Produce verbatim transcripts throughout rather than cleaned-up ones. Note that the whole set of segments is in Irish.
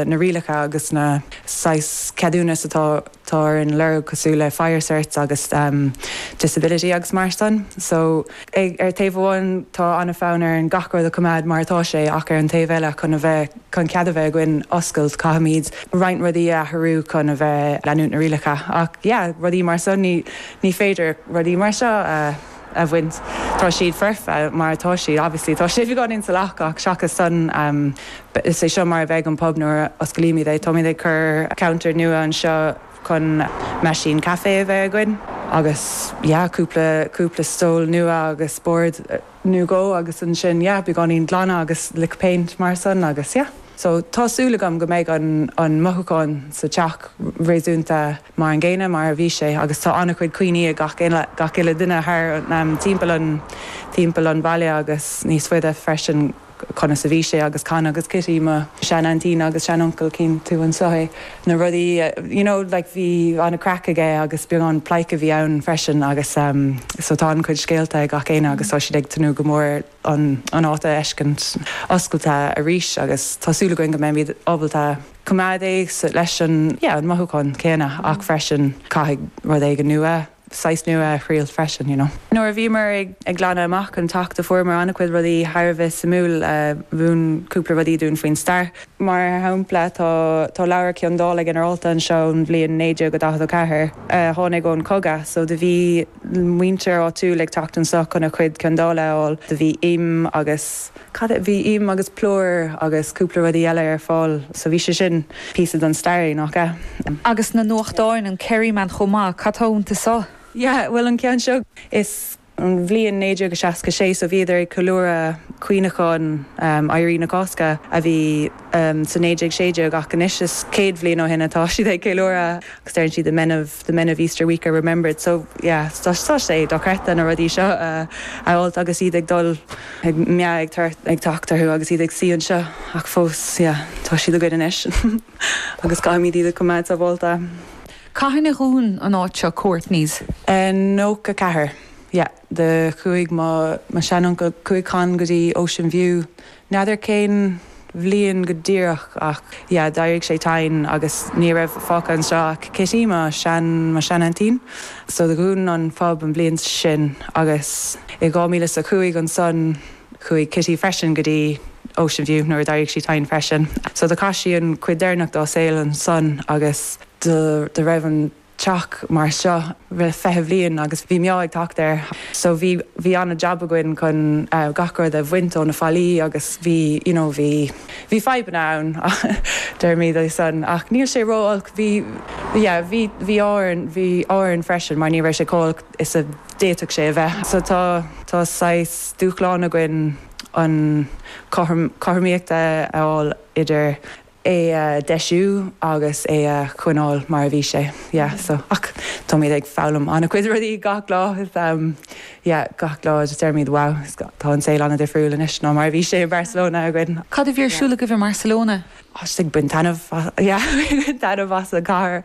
na rialacha agus na saghas ceadúnas atá tá an lorg cosúil le fire certs agus um, disability agus mar sin. So ag, ar taobh amháin tá an-fhonn ar an gach rud a choimeád mar atá sé ach ar an taobh eile chun a bheith chun cead a bheith againn oscailt caithfimid roinnt rudaí a athrú chun a bheith leanúint na rialacha ach yeah, rudaí mar sin ní, ní féidir rudaí mar seo uh, a bhaint tá siad foirfe mar tá siad obviously tá sé gan in salach ach seachas san um, is é seo mar a bheidh an pub nuair osclaímid é táimid ag cur counter nua anseo chun meaisín caife a bheith againn agus yeah, cúpla cúpla stól nua agus bord nua go agus ansin yeah, beagáinín glanadh agus lick paint mar sin agus yeah. So tá súil agam go mbeidh an, an mothúchán sa teach réasúnta mar an gcéanna mar a bhí sé agus tá an-chuid cuimhní ag gach gach uile duine thar um, timpeall an timpeall an bhaile agus níos faide freisin conas a bhí sé agus Con agus Kitty mo sean-aintín agus sean-uncail cinn tú anseo é na rudaí you know, like bhí an-chraic aige agus beagán pleidhce a bhí ann freisin agus um, so tá an-chuid scéalta ag gach éinne agus tá siad ag tnúth go mór an an áit a fheiscint oscailte arís agus tá súil againn go mbeimid ábalta coimeád é leis an yeah, an mothúchán céanna ach freisin caithfidh rud éigin nua saghas nua thriail freisin you know. Nuair a bhíomar ag ag glanadh amach an teach do fuaireamar an-chuid rudaí thar a bheith suimiúil mhúin cúpla rudaí dúinn faoin stair. Mar shampla tá tá leabhar ciondála ginearálta anseo ón bhliain naoi déag go daichead a ceathair tháinig ón cogadh, so do bhí muintir áitiúil ag teacht anseo chun a chuid ciondála a fháil, do bhí im agus cad bhí im agus plúr agus cúpla rudaí eile ar fáil, so bhí sé sin píosa den stair nach ea. Agus na nuachtáin an Kerryman chomh maith cad tá iontu seo. Yeah, well an ceann seo is an bhliain naoi déag seasca sé so bhíodar ag ceiliúradh cuimhneachán um, Éirí na Cásca a bhí um, sa naoi déag sé déag ach anois is céad bliain ó shin atá siad ag ceiliúradh agus deireann siad the men of the men of Easter Week are remembered so yeah, tá sé dochreidte na rudaí seo uh, a fháil agus iad ag dul ag me ag ag teacht orthu agus iad ag suí anseo ach fós yeah, tá siad againn anois agus caithfimid iad a choimeád sábháilte. Cathain a dhún an áit seo Courtney's. Uh, nócha ceathair. Yeah, do chuaigh mo mo sean-uncail chuaigh Con go dtí Ocean View. N'fheadar cén bhliain go díreach ach yeah, d'éirigh sé tinn agus ní raibh fágtha anseo ach Kitty mo sean mo sean-aintín. So do dhún an pub an bhliain sin agus i dhá mhíle a cúig ansan chuaigh Kitty freisin go dtí Ocean View nuair d'éirigh sí tinn freisin. So do chaith sí an chuid deireanach dá saol ansan agus do do raibh an teach mar seo le fiche bliain agus bhí mé ag teacht air. So bhí bhí an-jab againn chun uh, gach rud a bhaint ó na fallaí agus bhí you know, bhí bhí fadhbanna ann deirmid san ach níl sé ró-olc bhí yeah, bhí bhí áin bhí áin freisin mar ní raibh sé chomh holc is a d'fhéadfadh sé a bheith. So tá tá saghas dúshlán againn an cothromaíocht a fháil idir é a deisiú agus é a choinneáil mar a bhí sé yeah, so ach táimid ag foghlaim an-chuid rudaí gach lá um, yeah, gach lá just deirmid wow tá an saol an-difriúil anois ná mar a bhí sé i Barcelona againn. Cad a bhí ar siúl agaibh i Barcelona? ag baint taitneamh as an gcathair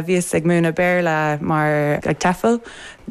bhíos ag múineadh Béarla mar ag TEFL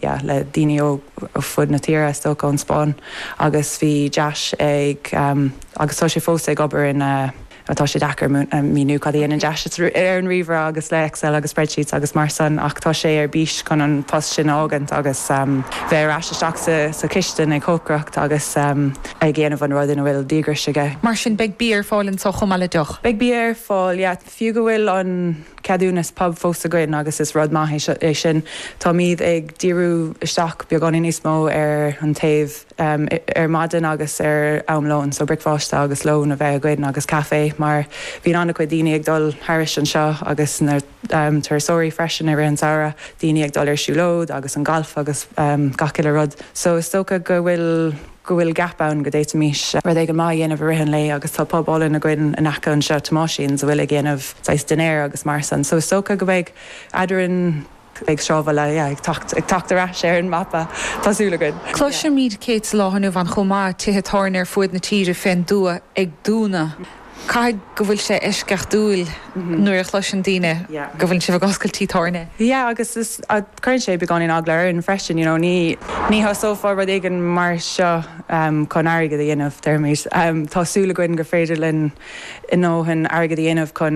yeah, le daoine ó ó fud na tíre is dócha ón Spáinn agus bhí Josh ag um, agus tá sé fós ag obair in uh, atá sé deacair míniú cad an deis ar an ríomhaire agus le Excel agus spreadsheets agus mar sin ach tá sé ar bís chun an post sin a fhágaint agus um, bheith ar ais isteach sa, sa chistin ag cócaireacht agus um, ag déanamh an rud ina bhfuil díograis aige. Mar sin beidh bia ar fáil anseo chomh maith le deoch. Beidh bia ar fáil yeah, fiú go bhfuil an ceadúnas pub fós againn agus is rud maith é sin Táimid ag díriú isteach beagáinín níos mó ar an taobh um, ar maidin agus ar am lóin, so bricfeasta agus lón a bheith againn agus caife mar bhíonn an-chuid daoine ag dul thairis anseo agus na um, turasóirí freisin ar an samhradh daoine ag dul ar siúlóid agus an galf agus um, gach uile rud. So is dócha go bhfuil go bhfuil gap ann go bhféadfaimis rud éigin maith a dhéanamh i rith an lae agus tá pub álainn againn in aice anseo Tomáisín a bhfuil ag déanamh saghas dinnéar agus mar sin. So is dócha go mbeidh eadrainn ag sráidbhaile ag teacht ar ais ar an mapa tá súil againn. Cloisimid céad lá inniu an chomh maith tithe tábhairne ar fud na tíre fén dtuath ag dúnadh. Caithfidh go bhfuil sé eisceachtúil nuair a chloiseann daoine go bhfuil sibh ag oscailt tigh tábhairne. Yeah, agus is cuireann sé beagáinín eagla orainn freisin, you know, ní ní thosófá rud éigin mar seo um, chun airgead a dhéanamh déarfaimid. Um, tá súil againn gur féidir linn a ndóthain airgead a dhéanamh chun